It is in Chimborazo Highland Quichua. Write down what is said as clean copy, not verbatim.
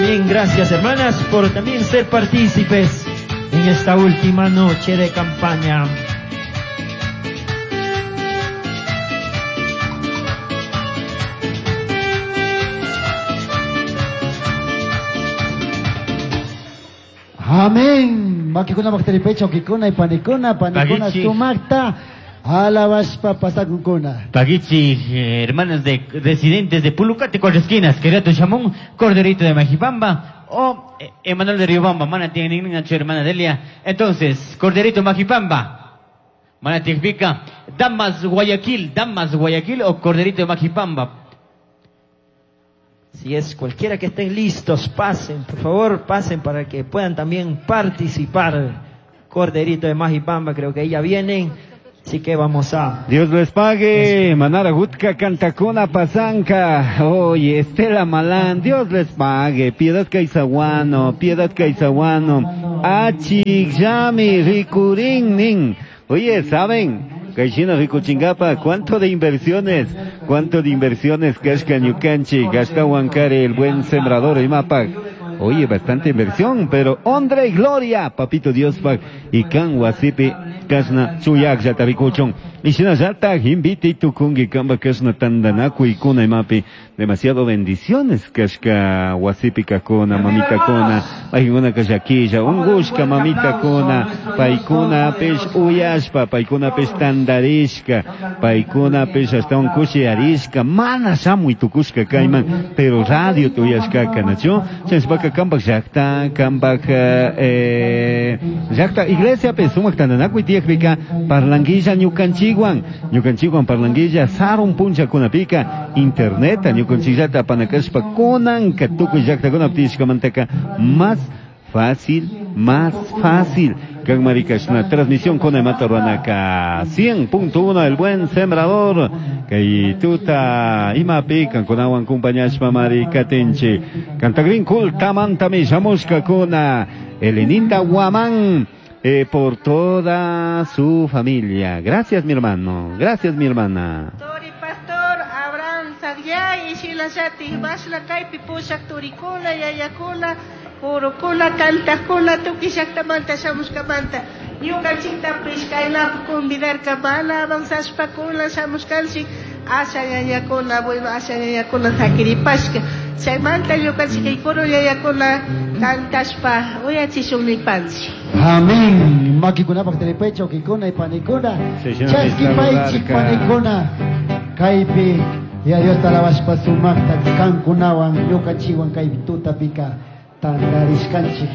bien, gracias hermanas por también ser partícipes en esta última noche de campaña. Amén. Makikuna bakteripecha, ukikuna y panikuna, panikuna Pagichi. sumakta, alabashpa pasakunkuna. Paguichi, hermanas de residentes de Pulucate, Cuatro Esquinas, Querato Chamón, Corderito de Majipamba o Emanuel de Riobamba, mana tiene hermana Delia. Entonces, Corderito Majipamba, mana significa Damas Guayaquil, Damas Guayaquil o Corderito de Majipamba. Si es cualquiera que estén listos, pasen, por favor, pasen para que puedan también participar. Corderito de Majipamba, creo que ahí ya vienen. Así que vamos a... Dios les pague, Manara Gutka, Cantacuna, Pasanca, oye, Estela Malán, Dios les pague, Piedad Caizaguano, Piedad Caizaguano, Achik, Yami, Ricurín, Nin. Oye, ¿saben? Caixina Ricuchingapa, ¿cuánto de inversiones? ¿Cuánto de inversiones? Kashka Ñukanchi, Gasta Huancare, el buen sembrador y Mapac. Oye, bastante inversión, pero honra y gloria, papito Dios pak, y kan wasipi, kasna, chuyak yatarikuchon. Y shina yata, invite tukungi kamba kasna tandanaku y kuna imapi. Demasiado bendiciones, kashka wasipi kakuna, mamita kuna, paikuna kashakilla, ungushka mamita kuna, paikuna pesh uyashpa, paikuna pesh tandarishka, paikuna pesh hasta un kushi arishka, mana shamuy tukushka kayman, pero radio tuyashka kanacho, chashpaka kambak llakta, kambak, llakta iglesia pe sumak tandanakuy tiyakpika, parlanguilla ñukanchikwan, ñukanchikwan parlanguilla sarun punchakunapika, internet ñukanchikllata apanakashpa kunanka tukuy llaktakunapi tiyashkamantaka más fácil, más fácil. Kan marikashna transmisión con Emata Ruanaka 100.1 el buen sembrador. Kay tuta imapi kankunawan kumpañashpa marikatinchi. Cantagrin kultamantami shamushka kuna Elenita Guamán. Por toda su familia. Gracias, mi hermano. Gracias, mi hermana. Tori Pastor, Abraham Sagyay, Sheila Shati, Bashla Kaipi, Pushak Turikuna, Yayakuna, Kurukuna, Kantakuna, Tuki Shaktamanta, Shamushkamanta, Ñukanchikta Pishkaynap, Convidarka, Bala, Avanzashpakuna, Shamushkanchik, Asha Yayakuna, bueno, Asha Yayakuna, Sakiripashka, Chaymanta, Ñukanchik, Ikuru Yayakuna, Kantashpa, Uyachishun Nipanchi. Amén. Makikuna bakteripecha, ukikuna y panikuna. Sí, sí, no, Chaski me paichik saludarka. panikuna. Kaypi, ya Dios talabashpa sumakta kankunawan, ñukanchikwan kaypi tutapika tandarishkanchik.